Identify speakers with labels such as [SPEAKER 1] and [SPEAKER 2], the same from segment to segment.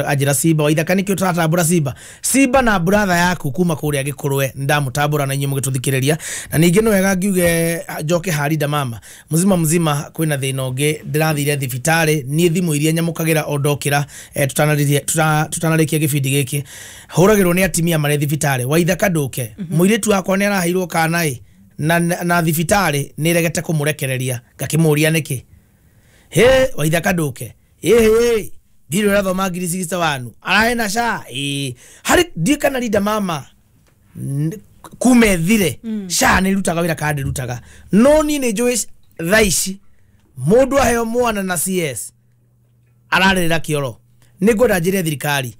[SPEAKER 1] Anjĩra Simba Waithaka, nĩkĩo tũratambũra Simba, Simba na brother yaku kuma kũrĩa Gĩkũrwe, ndamũtambũra na inyuĩ mũgĩtũthikĩrĩria. Na ningĩ nĩ wega ngiuge njoke harinda mama mzima mzima, kwĩna thĩna ũngĩ. Ndĩrathire thibitarĩ niĩ, thimũ iria nyamũkagĩra o ndokĩra, tũtanarĩkia gĩbindi gĩkĩ, hũragĩrwo nĩ atimia marĩ thibitarĩ. Waithaka, ndũke, mũirĩtu wakwa nĩ araheirwo kana ĩ na thibitarĩ nĩ ĩregete kũmũrekereria. Ngakĩmũria nĩkĩ. He Waithaka, ndũke, ĩhĩ ndirĩ ũrathoma ngiri 61 arahena SHA ĩ harĩ ndiĩ kana rinda mama kuma ethire SHA nĩ rutaga wĩra kana ndĩrutaga, no niĩ nĩ njũĩ thaa ici mũndũ aheo mwana na CS ararĩrĩra kĩoro. Nĩ ngwenda njĩre thirikari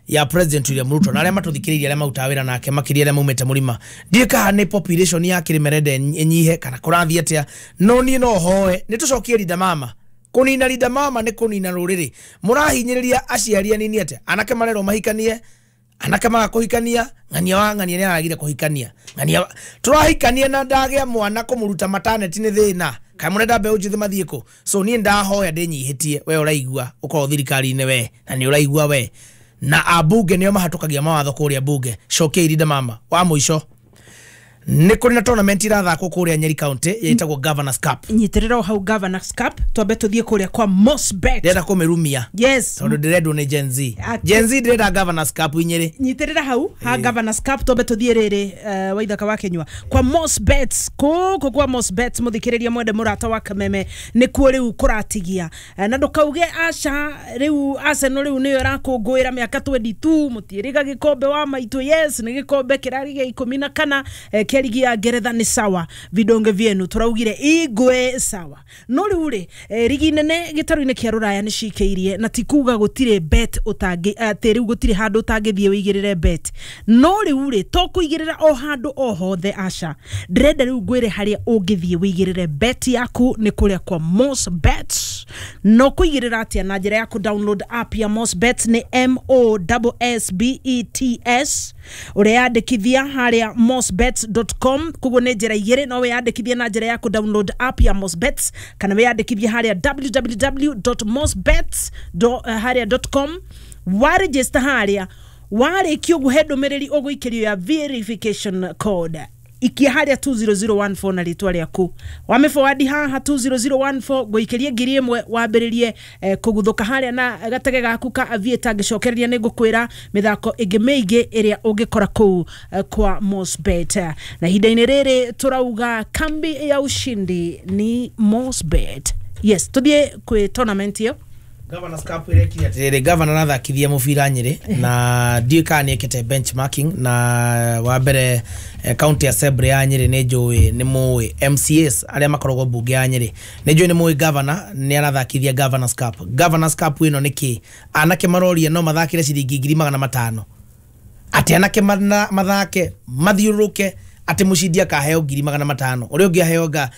[SPEAKER 1] ya President William Ruto na arĩa matũthikĩrĩirie, arĩa marutaga wĩra nake, makĩria arĩa maumĩte mũrima, ndiĩ kana nĩ population ya Kĩrĩma ĩnyihe kana kũrathiĩ atĩa, no niĩ no hoe nĩ tũcokie rinda mama. Kũnina rinda mama nĩ kũnina rũrĩrĩ. Mũrahinyĩrĩria aciari anini atĩa? Anake marerwo mahikanie, anake maga kũhikania. Ng'ania wa ng'ania nĩ aragire kũhikania. Ng'ania tũrahikania na ndagĩa mwana, kũmũruta maternity nĩ thĩna. Kaĩ mũrenda mbeũ njĩthĩ mathiĩ kũ? So niĩ ndahoya ndĩnyihĩtie, we ũraigua ũkorwo thirikari-inĩ, we na nĩ ũraigua we na ambunge nĩo mahatũkagia mawatho kũrĩa mbunge, cokia irinda mama. Wa mũico, nĩ kũrĩ na tournament irathakwo kũrĩa Nyeri County ĩtagwo Governors Cup.
[SPEAKER 2] Nyitĩrĩra o hau Governors Cup, twambe tũthiĩ kũrĩa kwa Mosbet.
[SPEAKER 1] Ndĩrenda kũmĩrumia tondũ ndĩrendwo nĩ Gen Z. Gen Z ndĩrenda Governors Cup inyĩrĩ.
[SPEAKER 2] Nyitĩrĩra hau ha Governors Cup, twambe tũthiĩ rĩrĩ, Waithaka wa Kenyua, kwa Mosbet. Kũkũ kwa Mosbet, mũthikĩrĩria mwende mũrata wa Kameme, nĩkuo rĩu kũratigia. Na ndũkauge aca, rĩu Arsenal rĩu nĩyo ĩrakũngũĩra mĩaka 22, mũtiĩrĩga gĩkombe wa maitũ. Yes, nĩ gĩkombe kĩrarĩ gĩa 14 kĩa ligi ya Ngeretha. Nĩ sawa, vidonge vyenu tũraugire igwe sawa, no rĩu rĩ, rigi nene gĩtarũ-inĩ kĩa rũraya nĩ cikĩirie, na ti kuga gũtirĩ bet ũtangĩ atĩ rĩu gũtirĩ handũ ũtangĩthiĩ wĩigĩrĩre bet, no rĩu rĩ, to kũigĩrĩra o handũ o hothe, aca. Ndĩrenda rĩu ngwĩre harĩa ũngĩthiĩ wĩigĩrĩre bet yaku nĩ kũrĩa kwa Mosbet. No kũigĩrĩra atĩa? Na njĩra ya kũ download app ya Mosbet, nĩ Mossbets, ũreyandĩkithia harĩa mosbets.com. Koguo nĩ njĩra igĩrĩ: no wĩyandĩkithie na njĩra ya kũ download app ya Mosbets, kana wĩyandĩkithie harĩa www.mosbets harĩa .com. Waregister harĩa, warĩkia ũguo, he ndũmĩrĩri ũgũikĩrio ya verification code. Ikia harĩa 20014 na rĩtwa rĩaku, wamĩforward haha 20014, ngũikĩrie 1000, wambĩrĩrie kũguthũka harĩa na gatege gaku ka Aviator. Ngĩcokereria nĩ ngũkwĩra mĩthako ĩngĩ mĩingĩ ĩrĩa ũngĩkora kũu kwa Mosbet. Na ihinda-inĩ rĩrĩ tũrauga kambi ya ushindi ni Mosbet. Yes, tũthiĩ kwĩ tournament ĩyo.
[SPEAKER 1] Governors Cup ĩrekire atĩrĩrĩ, governor arathakithia mũbira Nyĩrĩ, na ndiũĩ kana nĩ ekĩte benchmarking. Na wa mbere, county assembly ya Nyĩrĩ, nĩ njũĩ nĩ mũĩ MCAs arĩa makoragwo mbunge ya Nyĩrĩ, nĩ njũĩ nĩ mũĩ governor nĩ arathakithia Governors Cup. Governors Cup ĩno nĩ kĩ? Anake maroria no mathakĩre ciringi 500,000, atĩ anake mathake mathiũrũrũke, atĩ mũcindi akaheo 500,000, ũrĩa ũngĩ aheo nga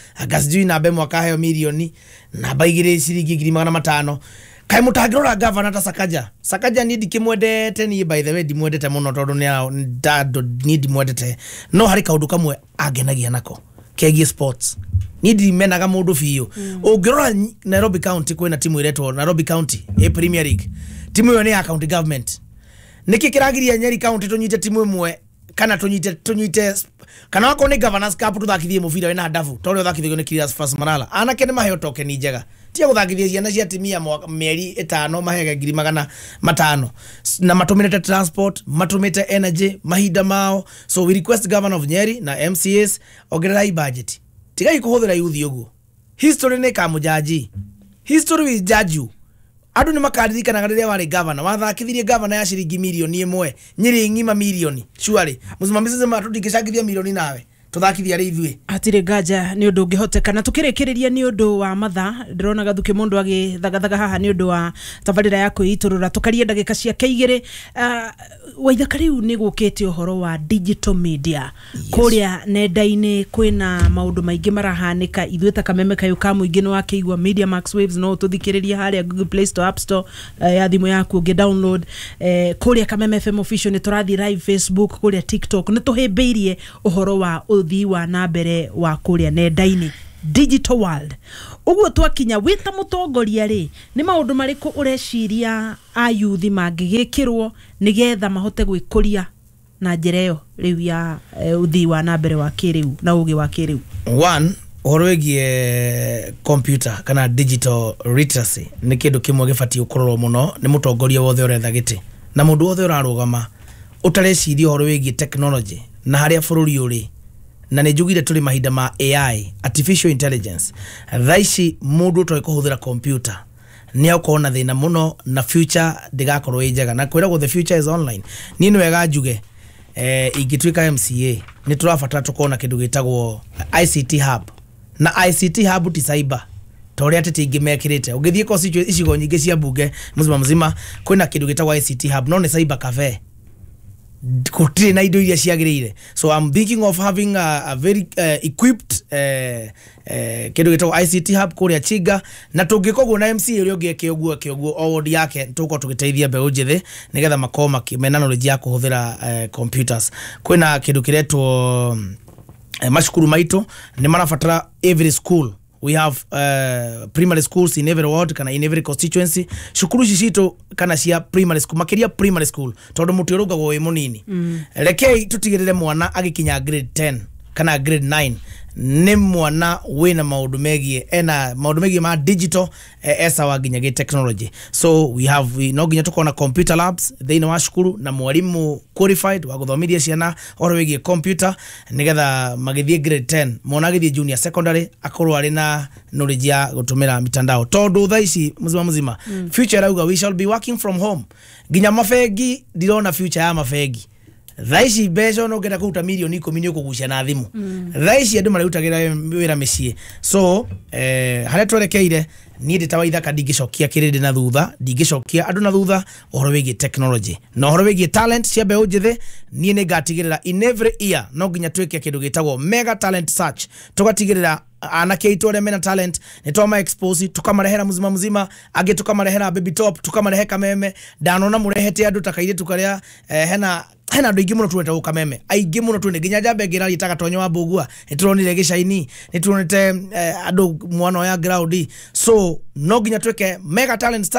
[SPEAKER 1] sijui namba ĩmwe akaheo mirioni, namba igĩrĩ ciringi 500,000. Kaĩ mũtangĩrora gavana ta Sakaja? Sakaja niĩ ndikĩmwendete, niĩ by the way ndimwendete mũno tondũ niĩ ndimwendete, no harĩ kaũndũ kamwe angenagia nako kegiĩ sports. Niĩ ndimenaga mũndũ biũ. Ũngĩrora Nairobi County, kwĩna timu ĩretwo Nairobi County ĩ Premier League. Timu ĩyo nĩ ya county government. Nĩkĩ kĩragiria Nyeri County tũnyite timu ĩmwe, kana tũnyite, kana wakorwo nĩ Governors Cup, tũthakithie mũbira wĩna ndabu ta ũrĩa ũthakithagio nĩ Cleophas Malala? Anake nĩ maheo tokeni njega, tia gũthakithia ciana cia timia mĩeri 5 mahege 500,000 na matũmĩrĩte transport, matũmĩte energy, mahinda mao. So we request governor of Nyeri na MCAs, ongererai budget, tigai kũhũthĩra yuthi ũguo. History nĩ ĩkamũjaji, history will judge you. Andũ nĩ makaririkanaga rĩrĩa warĩ governor wathakithirie governor ya ciringi 1 mirioni Nyĩrĩ ng'ima, mirioni. Surely mũsimamizi sema tũtingĩcangithia mirioni nawe tũthakithia arĩ ithuĩ.
[SPEAKER 2] Hatirĩ nganja nĩ ũndũ ũngĩhoteka. Na tũkĩrĩkĩrĩria, nĩ ũndũ wa mathaa, ndĩrona Gathuki mũndũ agĩthagathaga haha nĩ ũndũ wa tabarĩra ya kwĩitũrũra, tũkarie ndagĩka ciake 2. Waithaka, rĩu nĩ gũkĩte ũhoro wa digital media. Kũrĩa nenda-inĩ kwĩna maũndũ maingĩ marahanĩka. Ithuĩ ta Kameme kayũ ka mũingĩ, nĩ wakĩigua Media Max Waves, no ũtũthikĩrĩrie harĩa Google Play Store, App Store, ya thimũ yaku ũngĩ download. Kũrĩa Kameme FM Official nĩ tũrathiĩ live Facebook, kũrĩa TikTok nĩ tũhĩmbĩirie ũhoro wa ũthii wa na mbere wa kũrĩa nenda-inĩ. Digital world ũguo twakinya, wĩ ta mũtongoria rĩ, nĩ maũndũ marĩkũ ũreciria ayuthi mangĩgĩkĩrwo nĩgetha mahote gwĩkũria na njĩra ĩyo rĩu ya ũthii wa na mbere wa kĩrĩu na ũgĩ wa kĩrĩu?
[SPEAKER 1] One, ũhoro wĩgiĩ computer kana digital literacy nĩ kĩndũ kĩmwe gĩbatiĩ gũkororwo mũno nĩ mũtongoria wothe ũretha gĩtĩ na mũndũ wothe ũrarũgama. Ũtareciria ũhoro wĩgiĩ technology na harĩa bũrũri ũrĩ, na nĩ njugire tũrĩ mahinda ma AI, artificial intelligence. Thaa ici mũndũ ũtoĩ kũhũthĩra computer nĩ akorwo na thĩna mũno na future ndĩgakorwo ĩ njega, na kwĩragwo the future is online. Niĩ nĩ wega njuge, ingĩtuĩka MCA, nĩ tũrabatara tũkorwo na kĩndũ gĩtagwo ICT hub. Na ICT hub ti cyber ta ũrĩa ateti aingĩ mekĩrĩte. Ũngĩthiĩ constituency, icigo nyingĩ cia mbunge mzima mzima, kwĩna kĩndũ gĩtagwo ICT hub, no nĩ cyber cafe, gũtirĩ na indo iria ciagĩrĩire. So I'm thinking of having a very equipped kĩndũ gĩtagwo ICT hub kũrĩa Chinga. Na tũngĩka ũguo na MCA ũrĩa ũngĩ eke ũguo, eke ũguo o ward yake, tũgũkorwo tũgĩteithia mbeũ njĩthĩ nĩgetha makorwo mena knowledge ya kũhũthĩra computers. Kwĩna kĩndũ kĩretwo macukuru maitũ nĩ marabatara, every school, we have primary schools in every ward kana in every constituency. Cukuru ici citũ kana cia primary school, makiria primary school, tondu muti urungagwo wi munini, rekei tutigirire mwana agikinya grade 10 kana grade 9 nĩ mwana wĩna maũndũ megiĩ, ena maũndũ megiĩ ma digital, esawa nginya gĩ technology. So we have no nginya tũkorwo na computer labs thĩinĩ wa cukuru na mwarimũ qualified wa gũthomithia ciana ũhoro wĩgiĩ computer, nĩgetha magĩthiĩ grade 10, mwana agĩthiĩ junior secondary akorwo arĩ na knowledge ya gũtũmĩra mitandao, tondũ thaa ici mzima mzima future ĩrauga we shall be working from home. Nginya mabengi, ndirona future ya mabengi thaa ici. Mbeca ona ũngĩenda kũruta mirioni 10 nĩ ũkũgucia na thimũ. Thaa ici andũ marĩrutagĩra wĩra mĩciĩ. So harĩa twerekeire, niĩ ndĩ ta Waithaka ndingĩcokia kĩrĩndĩ na thutha, ndingĩcokia andũ na thutha ũhoro wĩgiĩ technology na ũhoro wĩgiĩ talent cia mbeũ njĩthĩ. Niĩ nĩ ngatigĩrĩra in every year no nginya twĩke kĩndũ gĩtagwo mega talent search, tũgatigĩrĩra anake aitũ arĩa mena talent nĩ twama expose, tukamarehera mzima mzima, angĩ tukamarehera Baby Top, tukaamarehe Kameme. Ndanona mũrehete andũ ta kairĩtu karĩa hena andũ aingĩ mũno tuonete gũkũ Kameme, aingĩ mũno tuone, nginya njamba ĩngĩ ĩraria ta Gatonyo wa Mbũgua nĩ turonire gĩcaini, nĩ tuonete andũ mwana oya ground. So no nginya twĩke mega talent search.